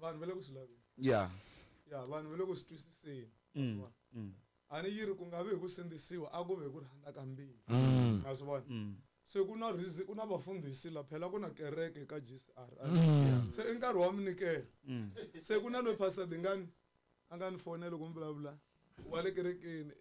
Vanhu va le ku swi laveni. Ya. Ya, vanhu va le ku swi twisiseni. A ni yi ri ku nga vi hi ku sindzisiwa, a ku ve hi ku rhandza ka mbilu. Ma swi vona? Se ku na reason, ku na vafundhisi la, phela ku na kereke ka GCR. Se i nkarhi wa minyikelo. Se ku na loyi Pastor Dingani a nga ni fonela loko mi vulavula wa le kerekeni,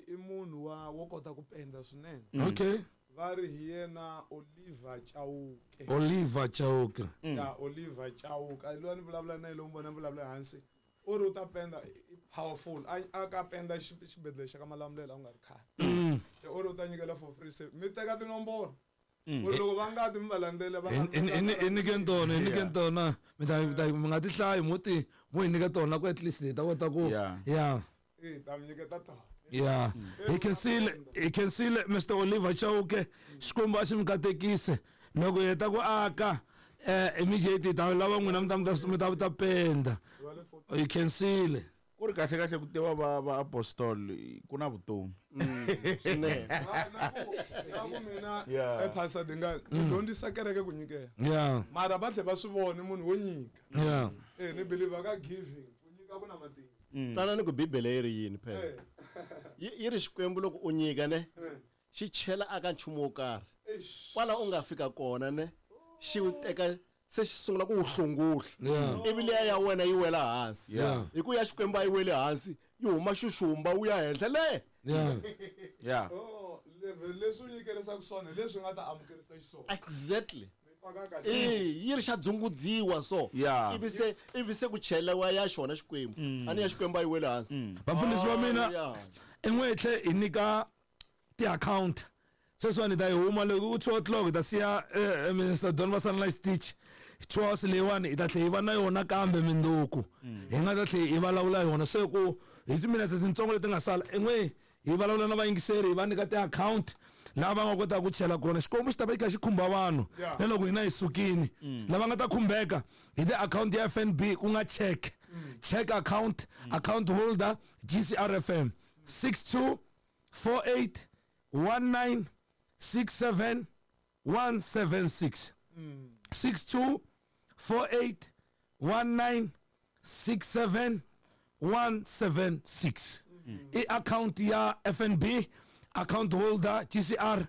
i munhu wa wo kota ku penda swinene. Okay. Va ri hi yena Oliver Chauke. Oliver Chauke. Ya, Oliver Chauke. A loyi a ni vulavula na yena loko mi vona ni vulavula hansi. U ri u ta penda, i powerful. A ka penda xibedhlele xa ka Malamulele a ku nga ri khale. Se u ri u ta nyikela for free. Se mi teka tinomboro. Ku ri loko va nga ti mi va landzela, va nga Hi nyike tona, hi nyike tona. Mi ta, mi ta, mi nga ti hlayi, mo ti, mo hi nyika tona ku at least hi ta kota ku, Yeah. yeah. Eh, ta mi nyiketa tona. Yeah. Hi khensile, hi khensile Mister Oliver Chauke. Xikwembu a xi mi katekise. Loko hi heta ku aka, immediately ta lava n'wina mi ta, mi ta, mi ta, mi ta penda. Hi khensile. Ku ri kahle kahle ku tiva va apostol ku na vutomi. Swinene. Na ku, na ku mina, Yeah. Pastor Dingani, ni dyondzisa kereke ku nyikela. Yeah. Mara va tlhe va swi vona munhu wo nyika. Yeah. Ni believe ka giving, ku nyika ku na matimba. Twana ni ku Bibele yi ri yini phela. Yi ri Xikwembu loko u nyika ne, xi chela aka nchumu wo karhi. Eish. Kwala u nga fika kona ne, xi wu teka se xi sungula ku wu hlunguhla. Yeah. Ivi liya ya wena yi wela hansi. Yeah. Hi ku ya Xikwembu a yi weli hansi, yi huma xuxumba wu ya henhla le. Yeah. Yeah. Oh, level leswi u nyikerisaka swona hi leswi nga ta amukerisa xiswona. Exactly. Mi paka kahle. Yi ri xa dzungudziwa so. Yeah. Ivi se, ivi se ku chelewa ya xona Xikwembu. A ni ya Xikwembu a yi weli hansi. Vafundhisi va mina, Oh, yeah. i n'we tlhe hi nyika ti-account. Sweswiwani hi ta yi huma loko ku 2 o'clock hi ta siya Mister Don va sala na xitichi. 2 hours leyiwani hi ta tlhela hi va na yona kambe mindzuku. Hi nga ta tlhela hi vulavula yona. Se ku hi timinetse tintsongo leti nga sala, i n'we hi vulavula na vayingiseri, hi va nyika ti-account laha va nga kotaka ku chela kona. Xikwembu xi ta va xi kha xi khumba vanhu na loko hina hi sukile. Lava nga ta khumbeka hi ti-account ya FNB ku nga check. Check account, account holder GCRFM 62 48 19 67 176. 62 48 19 67 176. I account ya FNB, account holder GCR,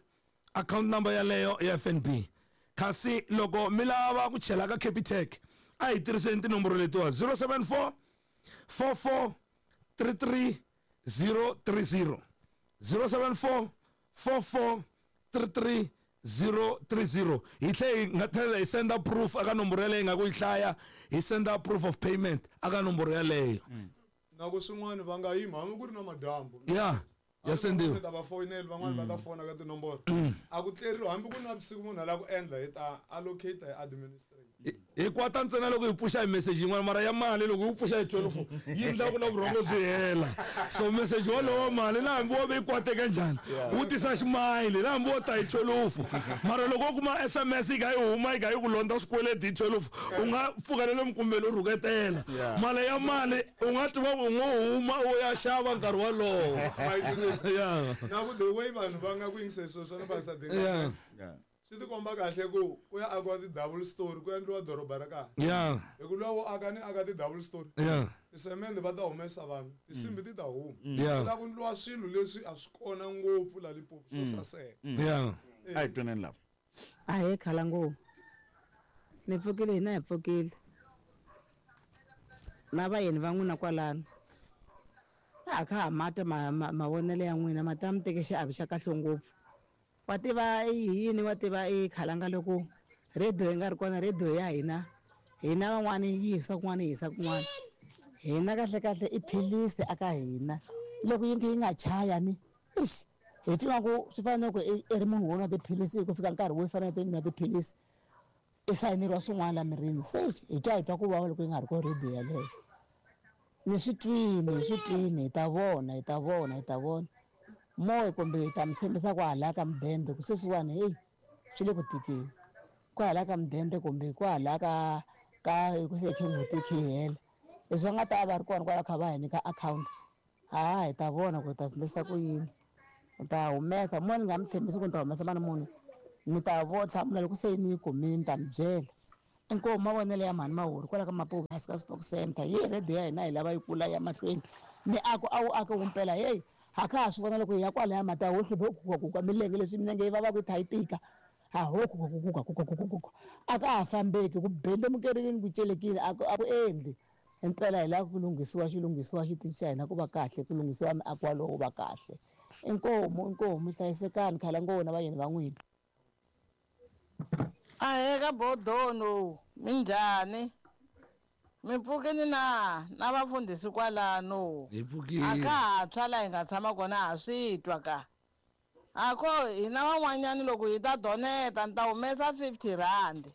account number yaleyo ya FNB. Kasi loko mi lava ku chela ka Capitec, a hi tirhiseni tinomboro letiwa 074 44 33 030. 074 44 33 030. Hi tlhe hi nga tlhela hi senda proof aka nomboro yaleyo hi nga ku yi hlaya, hi senda proof of payment aka nomboro yaleyo. Na ku swin'wana va nga yima hambi ku ri na madyambu. Yeah, ya sendiwa. Van'wana va foyinela, van'wana va ta fona ka tinomboro. A ku tleriwi hambi ku ri na vusiku munhu a lava ku endla hi ta allocate hi administrate. Hi kwata ntsena loko hi pfuxa hi message yin'wana, mara ya mali loko yi pfuxa hi 12 yi endla ku na vurhongo byi hela. So message wolowo wa mali na hambi wo ve yi kwateke njhani, wu tisa ximayili na hambi wo ta hi 12. Mara loko u kuma SMS yi kha yi huma yi kha yi ku londza swikweleti hi 12, u nga pfuka na le minkumbeni u rhuketela. Mali ya mali u nga tiva ku u ngo huma u ya xava nkarhi wolowo. Yeah. Na ku the way vanhu va nga ku yingiseni swilo swa ni Pastor Dingane. Yeah. Yeah. Swi ti komba kahle ku ya akiwa ti-double story, ku endliwa doroba ra kahle. Yeah. Hi ku luwa wo aka ni aka ti-double story. Yeah. Tisemende va ta humesa vanhu, tinsimbi ti ta huma. Yeah. Ku lava ku endliwa swilo leswi a swi kona ngopfu la Limpopo swo saseka. Yeah. A hi twaneni lava. A hi khala ngopfu. Mi pfukile hina hi pfukile. Na vayeni va n'wina kwalano. Ha kha ha mata mavonelo ya n'wina, ma ta mi teke xiave xa kahle ngopfu. Wa tiva i yini, wa tiva i khalanga loko radio yi nga ri kona, radio ya hina, hina van'wani yi hisa kun'wana yi hisa kun'wana. Hina kahle kahle i philisi aka hina. Loko yi yi nga chaya ni, eish, hi twa ku swi fana na ku i ri munhu wo nwa tiphilisi ku fika nkarhi wo fanele u nwa tiphilisi, i sayineriwa swin'wana la mirini. Se hi twa hi twa ku vava loko yi nga ri kona radio yaleyo. Ni swi twini, hi swi twini, hi ta vona, hi ta vona, hi ta vona. Moya kumbe hi ta mi tshembisa ku hala ka mudende ku sweswiwani heyi swi le ku tikeni. Ku hala ka mudende kumbe ku hala ka hi ku se khe n'hweti yi khe yi hela. Leswi va nga ta va ri kona kwala kha va hi nyika account, ha hi ta vona ku hi ta swi endlisa ku yini. Hi ta humesa, mo ni nga mi tshembisi ku ni ta humesa mali muni, ni ta hlamula loko se ni yi kumile ni ta mi byela. Inkomu mavonelo ya mhani Mahuri kwala ka Mapuve hansi ka Spok Centre. Yi radio ya hina hi lava yi kula ya mahlweni. Miako a wu ake wumpela heyi ha kha ha swi vona loko hi ya kwalaya mati a ho hlupha ku gugaguga milenge leswi milenge yi vavaka yi tha yi tika ha ho gugaguguga gugaguguga a ka ha fambeki ku bendemukerini ku celekile a ku a ku endli impela hi lava ku lunghisiwa xi lunghisiwa xitichi xa hina ku va kahle ku lunghisiwa miako walowo wu va kahle inkomu inkomu hlayisekani khalangowo na vayeni va n'wina. Ahee ka Bodono, minjhani? Mi pfukini na na vafundhisi kwalano? Hi pfukile. A ka ha tshwa la hi nga tshama kona ha swi twa ka. A ko hina van'wanyani loko hi ta doneta ni ta humesa 50 rand.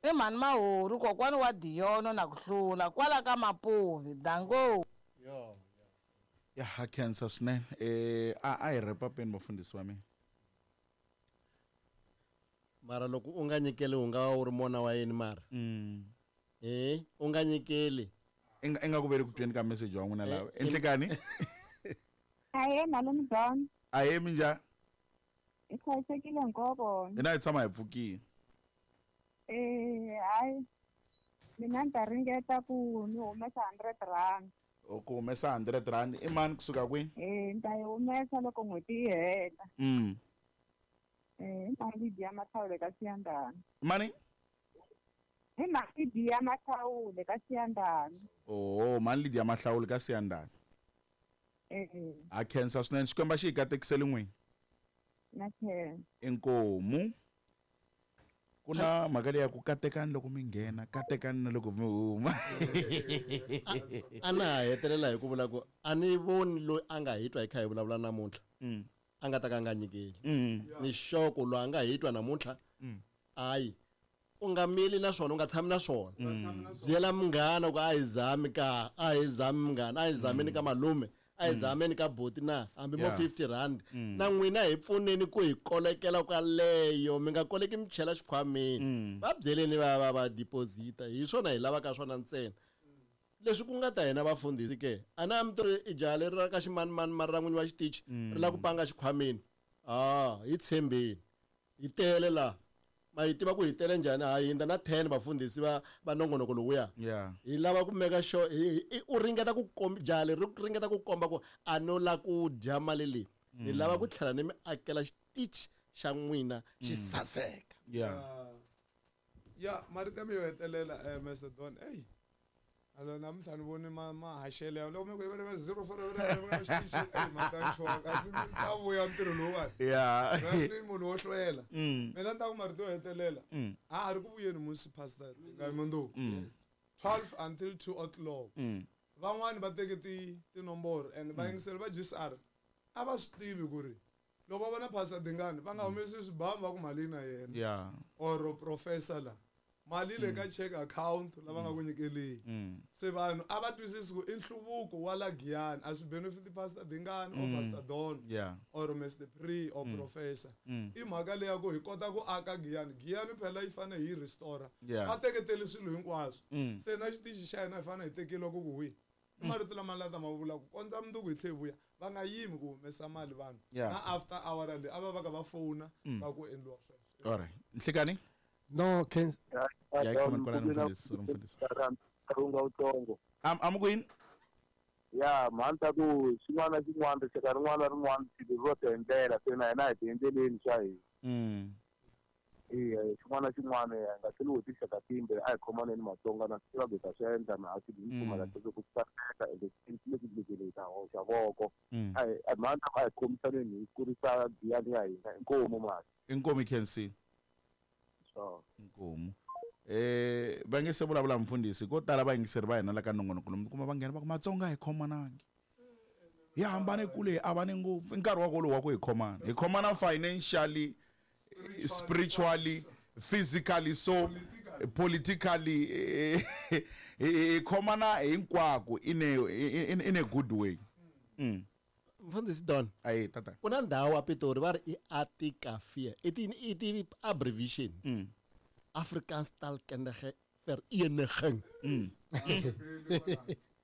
I mhani Mahori kokwani wa Diyono na ku hlula kwala ka Mapuvi. Danko. Ya ha khensa swinene. A a hi wrap-upeni vafundhisi va mina. Mara loko u nga nyikeli u nga va u ri mona wa yini mara? U nga nyikeli. I nga ku veli ku tweni ka message wa n'wina lava. Enhlekani? Ahee malume Don. Ahee minjhani? Hi hlayisekile hinkwavo. Hina hi tshama hi pfukile. Hayi mina ni ta ringeta ku ni humesa 100 rand. O ku humesa 100 rand i mani kusuka kwihi? Ni ta yi humesa loko n'hweti yi hela. I mali dya mathawule ka Siyandhani. Mani? I mali dya mathawule ka Siyandhani. Oh, mali dya mahlawule ka Siyandhani. A khensa swinene Xikwembu xi hi katekisele n'wini. Na khensa. Inkomu. Ku na mhaka leyi ya ku katekani loko mi nghena, katekani na loko mi huma. A na ha hetelela hi ku vula ku a ni voni loyi a nga hi twa hi kha hi vulavula namuntlha. A nga ta ka a nga nyikeli. Ni xoko loyi a nga hi twa namuntlha. Hayi. U nga mili na swona, u nga tshami na swona. Byela munghana ku a hi zami ka, a hi zami munghana, a hi zameni ka malume, a hi zameni ka buti na, hambi mo 50 rand. Na n'wina hi pfuneni ku hi kolekela kwaleyo, mi nga koleki mi chela xikhwameni. Va byeleni va va va deposita, hi swona hi lavaka swona ntsena. Leswi ku nga ta hina vafundhisi ke, a na mi tori i jaha leri ra ka ximanimani mara ra n'winyi wa xitichi ri lava ku panga xikhwameni. Ah, hi tshembeni. Hi tele la. Ma yi tiva ku hi tele njhani? Ha hindza na 10 vafundhisi va va nongonoko lowuya. Hi lava ku make sure u ringeta ku komba jaha leri ri ringeta ku komba ku a no la ku dya mali leyi. Ni lava ku tlhela ni mi akela xitichi xa n'wina xi saseka. Ya, marito ya mi yo hetelela Mr Don. Ey. Alo namuntlha ni voni mahaxele ya loko mi ku yi zero four xitichi ey mata nchuwa kasi ta vuya ntirho lowuwani. Ni munhu wo hlwela. Mina ni ta ku marito yo hetelela. A ha ri ku vuyeni musi pastor nga mundzuku. 12 until 2 o'clock. Van'wani va teke tinomboro and va yingiseli va GCR a va swi tivi ku ri loko va vona Pastor Dingani va nga humesi swibamu va ku mali na yena. Or professor la. Mali le ka check account lava nga ku nyikeleni. Se vanhu a va twisisi ku i nhluvuko wa la Giyani a swi benefit Pastor Dingani or Pastor Don or Mr Pre or Professor. I mhaka leya ku hi kota ku aka Giyani. Giyani phela yi fane hi restore. Va teketele swilo hinkwaswo. Se na xitichi xa hina hi fane hi tekeliwa ku ku wihi. I marito lama la ta ma vula ku kondza mundzuku hi tlhe hi vuya va nga yimi ku humesa mali vanhu. Na after hour leyi a va va ka va fona va ku endliwa sweswo. All right. Nhlekani? No, can Ya, comment kwala mfundhisi, mfundhisi. Karunga utsongo. Am kwini? Ya, mhani ta ku xin'wana na xin'wana rixaka rin'wana na rin'wana swilo ro ti endlela se na hina hi ti endleleni swa hina. Eya, xin'wana na xin'wana hi nga tlheli hi tinxaka timbe a hi khomaneni Matsonga na swi tiva ku hi ta swi endla na a swi hi pfumala sweswo ku saseka ende leswi leswi hi ta hoxa voko. A hi mhani ta ku a hi khomisaneni hi kurisa Giyani ya hina inkomu mali. Inkomu i khensile. Inkomu. Va nge se vulavula mfundhisi ko tala vayingiseri va hina la ka nongonoko lomu kuma va nghena va ku Matsonga hi khomanangi. Hi hambane kule hi avane ngopfu. I nkarhi wa kolowo wa ku hi khomana. Hi khomana financially, spiritually, physically, so politically hi khomana hinkwako in a good way. Mfundhisi Don. Ayi tata. Ku na ndhawu a Pitori va ri i Atikafia. I ti abbreviation. Afrikaans Taalkundige Vereniging.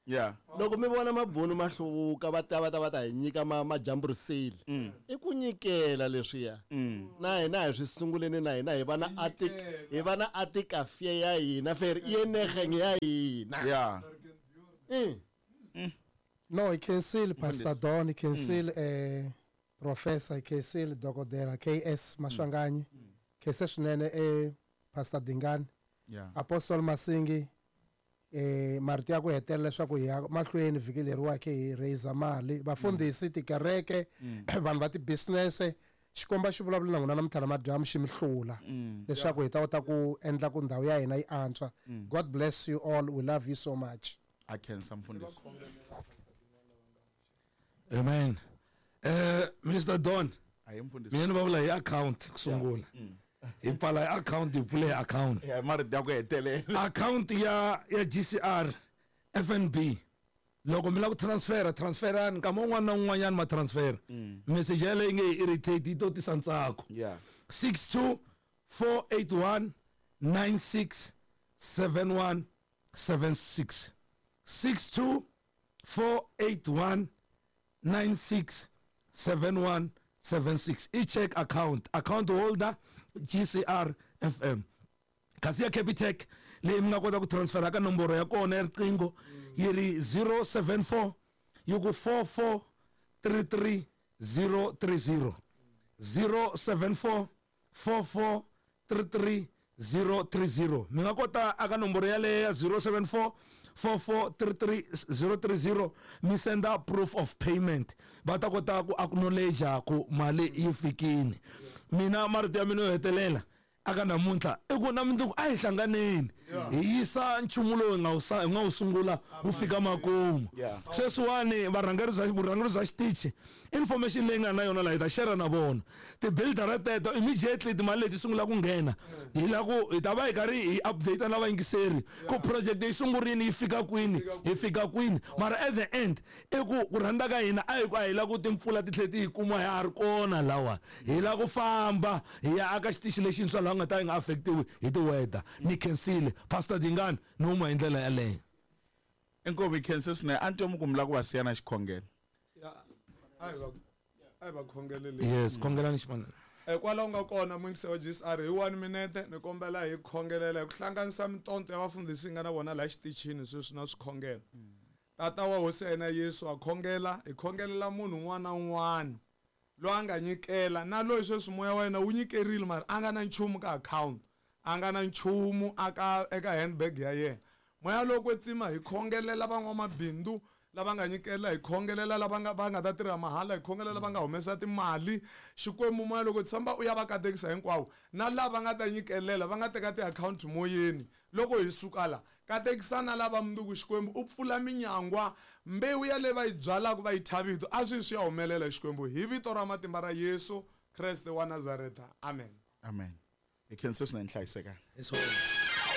Yeah. Loko mi vona mabunu ma hluvuka va ta va ta va ta hi nyika ma majamburiseli. I ku nyikela leswiya. Na hina hi swi sunguleni na hina hi va na atik hi va na atikafie ya hina fer yenegeng ya hina. Yeah. No, hi khensile Pastor Don, hi khensile Professor, hi khensile Dokodela KS Maswanganyi. Khense swinene Pastor Dingani. Yeah. Apostle Masingi marito ya ku hetelela leswaku hi ya mahlweni vhiki leriwa khe hi raise mali vafundhisi tikereke vanhu va ti-business xikomba xi vulavula na n'wina namuntlha namadyambu xi mi hlula leswaku hi ta kota ku endla ku ndhawu ya hina yi antswa. God bless you all, we love you so much. A khensa mfundhisi. Amen. Minister Don, ayi mfundhisi, mina ni va vula hi account ku sungula. Hi pfala hi account, hi pfule hi account. Yeah, marito ya ku hetelela. Account ya GCR FNB. Loko mi lava ku transfera, transferani nkama wun'wana na wun'wanyana ma transfera. Message yaleyo yi nge hi irritate, yi to tisa ntsako. Yeah. 62481 9671 76. 62481 9671 76. I-check account, account holder GCR FM. Kasi ya Capitec leyi mi nga kota ku transfera ka nomboro ya kona ya riqingho yi ri 074 yi ku 4433 030. 074 4433 030. Mi nga kota aka nomboro yaleyo ya 074 4433 030 mi senda proof of payment, va ta kota ku acknowledge ku mali yi fikini. Mina marito ya mina yo hetelela aka namuntlha i ku na mundzuku a hi hlanganeni hi yisa nchumu lowu hi nga wu sungula wu fika makumu. Sweswiwani varhangeri bya vurhangeri bya xitichi information leyi nga na yona laha hi ta share na vona ti-builder teto immediately timali leti sungula ku nghena hi la ku hi ta va hi karhi hi update na vayingiseri ku project yi sungurini yi fika kwini hi fika kwini. Mara at the end i ku rhandza ka hina a hi ku a hi la ku timpfula ti tlhela ti hi kuma ha ha ri kona lawa hi la ku famba hi ya aka xitichi lexintshwa laha nga ta yi nga affectiwi hi ti-weather. Ni khensile Pastor Dingani ni huma hi ndlela yaleyo. Inkomu hi khense swinene. A ni twa mi ku mi lava ku va siya na xikhongelo. A hi va khongelele. Yes, khongelani ximanana. Kwalaho nga kona muyingisi wa GCR hi 1 minute ni kombela hi khongelela hi ku hlanganisa mintonto ya vafundhisi hi nga na vona laha xitichini sweswi na swikhongelo. Tata wa hosi ya hina Yesu a khongela, hi khongelela munhu un'wana na un'wana loyi a nga nyikela na loyi sweswi moya wa yena wu nyikerile mara a nga na nchumu ka account, a nga na nchumu aka eka handbag ya yena. Moya lowo kwetsima hi khongelela van'wamabindzu lava nga nyikela, hi khongelela lava nga va nga ta tirha mahala, hi khongelela va nga humesa timali. Xikwembu moya loko tshemba u ya va katekisa hinkwavo na lava nga ta nyikelela va nga teka ti-account moyeni loko hi suka la katekisa na lava mundzuku. Xikwembu u pfula minyangwa, mbewu ya leyi va yi byalaka va yi thya vito a swi swi ya humelela. Xikwembu hi vito ra matimba ra Yesu Kreste wa Nazareta, amen. Amen. Hi khense swinene, hlayisekani.